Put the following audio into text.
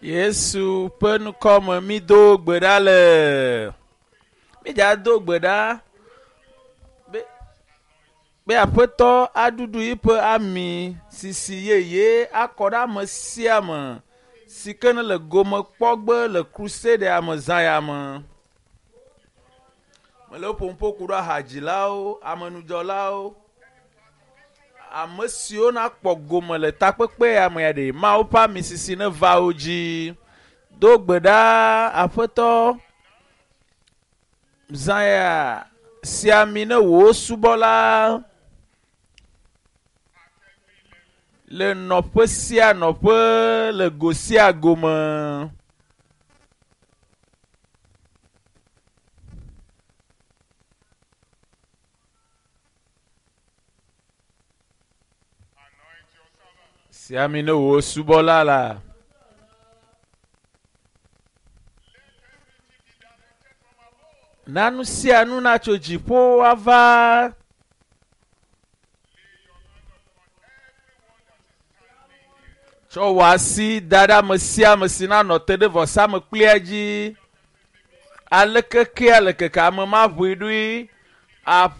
Yesu ƒe ŋkɔme mído gbe ɖa le. Mídza do gbe ɖa be be aƒetɔ aɖuɖu yiƒe ami sisi yeye akɔ ɖe ame sia ame si ke ne le gome kpɔgbe le crusade me zã ya me. Mele ƒom ƒo ku ɖe ahadzilawo, amenudzɔlawo, ame siwo nakpɔ gome le takpekpe ya me ya ɖe Mawu ƒe ami sisi neva wo dzi. Do gbe ɖa aƒetɔ zã ya si ami ne wò subɔla le nɔƒe sia nɔƒe le go sia go me. Anoint your servant. Si ami ne wò subɔla la. Let everything be directed from above. Na nu sia nu natso dziƒo ava. Lay your hand upon everyone that is standing here. Tsɔ wò asi da ɖe ame sia ame si nanɔ te ɖe vɔsamekplia dzi. Aleke ke aleke ke ame ma ʋui ɖoe.